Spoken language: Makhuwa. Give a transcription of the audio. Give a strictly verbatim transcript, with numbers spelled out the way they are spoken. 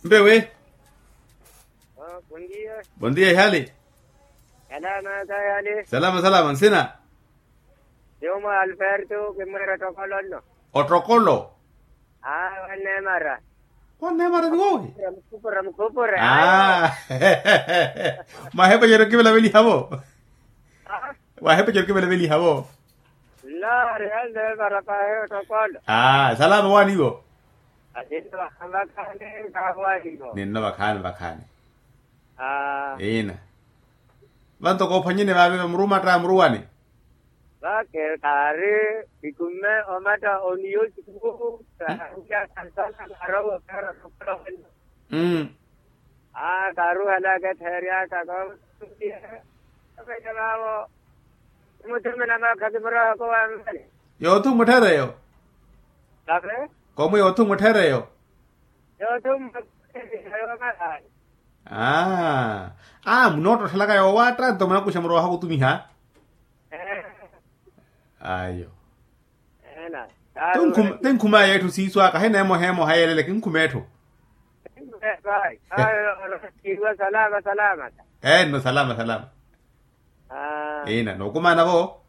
Mpewe. Bondia. Bondia ihali. Salama. Salama salama nsina. Yomo alberto kimwera otokolo nno. Otokolo. Aa wannemara. Wannemara ni wowi. Mukhupura mukhupura. Mwahepa cero kivelaveliha vo. Mwahepa cero kivelaveliha vo. Nno rihanle mara pahe otokolo. Salama waniwo. Ninno vakhaani vakhaani. Ina. Vanto koophwanyene vaavi vamurumatta muruwani. Vake kaari ikumme omatta oniyo siku. Kaari. Kaari ohalaka etheeryaka koomuthumela maakha kimurowaka owammale. Yoothu mutthereyo. Kave. Komu yoothu mutthereyo. Yoothu mutthereyo. Aa munoottottelaka yoowatta nto munakuxa murowaka kutumiha. Ayo. Ti nkhuma yeetthu siiso aka hina emoha emoha yeelele kinkhumeetthu. Enno salama salama. Ina nookumaana vo.